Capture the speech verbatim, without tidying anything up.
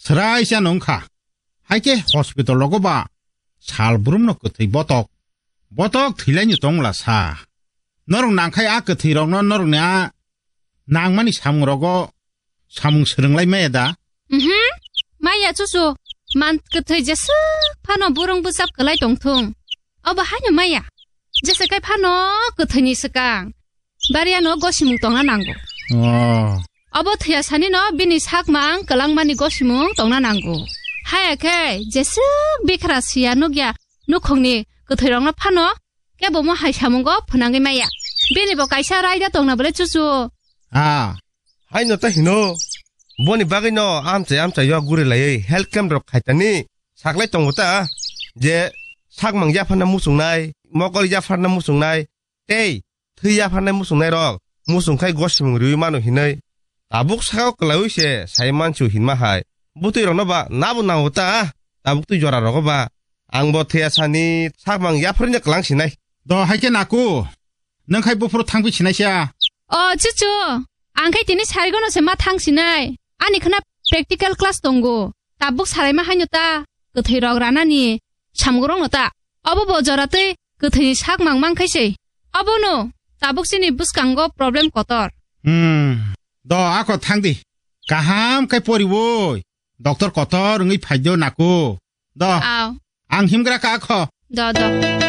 Srai se nung kha. Hai khe hospital rogo ba sal brum no kwthwi botok. Botok thwilaini tongla sa. Norok nangkhai a kwthwi rokno norokni a nangmani samung rogo samung swrwnglai maya da? Mhm. Maya chuchu. Man kwthwi jeswk phano burung bwchap kwlai tongthung. Obo haino maya. Jesa kai phano kwthwini swkang. Bariano gosimung tongna nango. Oh. Obo thwiya sani no bini sakmang kwlangmani gosimung tongna nango. Haya khe jeswk bikra siya nukya nukhungni kwthwi rokno phano kebo mo hai samungo phwnangwi maya. Bini bo kaisa raida tongna bole chuchu. Ah. Haino ta hino. Boni bagwi no amchai amchai yo guri laiwi health camp rok khaitani saklai tongo ta. Je sakmang yapharna muchungnai, mokol yapharna muchungnai, tei thwi yapharnai muchungnai rok muchung khai gosimung riwi mano hinwi tabuk sakao kwlaiwi se sai mansu hinma hai. Butwi rokno ba nabo nango ta, tabuk twi jora rogo ba. Ang bo thwiya sani sakmang yapharwi no kwlang sinai. Do hai khe naku, nang khai buphuru thangpi sinai sia. O chuchu, ang khai tini sarigono se ma thang sinai. Ani khna practical class tongo. Tabuk saraima haino ta, kwthwi rok ranani samgurong no ta. Obo bo jora twi kwthwini sak mang mang khai se. Obo no tabuk chini bwskango problem kotor. Hmm. Do ako thang di. Kaham khai pori woi. Doctor kotor wngwi phai do naku. Do. Aw. Ang himgra ka akho. Do, do.